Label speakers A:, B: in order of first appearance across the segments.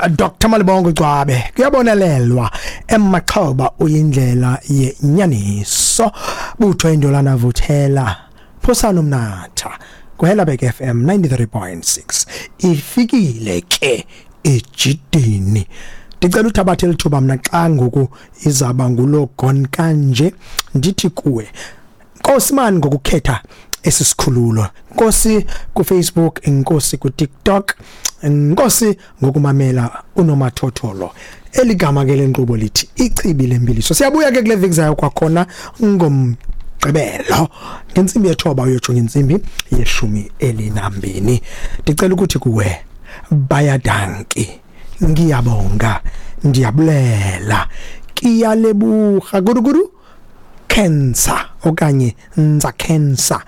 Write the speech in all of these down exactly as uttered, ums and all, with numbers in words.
A: Doctor Malibongo Gcwabe kuyabonelelwa emaxhoba uyindlela yenyaniso butho indolana vuthela phosana umnatha kuHelabek F M ninety-three point six ifikile ke ejidini. Ndicela uthabathe lithuba mna xa ngoku izaba ngulo gone kanje ndithi kuwe Nkosi man ngokukhetha esisikhululo, Nkosi ku Facebook, Nkosi ku TikTok, Nkosi ngokumamela unomathotholo. Eligama ke lenkqubo lithi Ichibi Lembiliso. Siyabuya ke kule veki zayo kwakhona ngomgqibelo ngentsimbi yethoba uyotsho ngentsimbi yeshumi elinambini. Ndicela ukuthi kuwe bayadanki, ngiyabonga, ndiyabulela, kiyalebuha guruguru cancer okanye nza cancer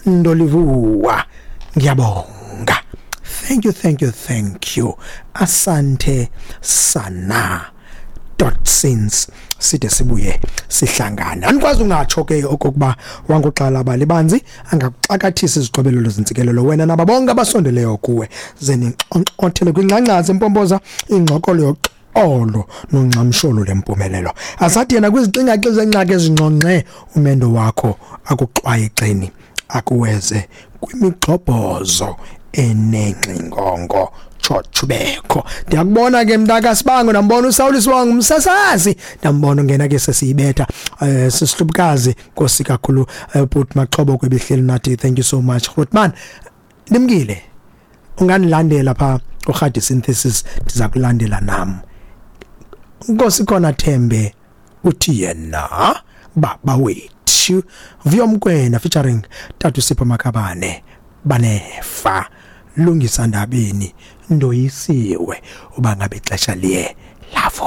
A: ndolivuwa, ngiyabonga. Thank you, thank you, thank you. Asante sana. Dot since side sibuye sihlangana. Anikwazi ungatsho ke okokuba wanguxala abalibanzi angakuxakathisa izixobelelo zentsikelelo wena nabo bonke abasondeleyo kuwe ze ninxonxothele kwingxangxasi empompoza ingxokolo yoxolo nongxamsholo lempumelelo. Asathi yena kwizixingaxi zengxaki ezingxongxe umendo wakho akuxwayixeni akuweze kwimigxobhozo enengxingongo tshotshubekho. Ndiyakubona ke mntaka Sibango, ndambona uSawuli Sibango umsasazi, ndambona ungena ke sesiyibetha eh sisihlubukazi Nkosi kakhulu Bhuti Maxhobo kwebihleli nathi. Thank you so much Grootman. Nimkile unganilandela pha uRhadi Synthesis, ndiza kulandela nam. Nkosi khona Thembe uthi yena baba wethu Vuyomkwena featuring Tatu Sipho Makhabane banefa Lungisa Ndabeni ndoyisiwe uba ngabe ixesha liye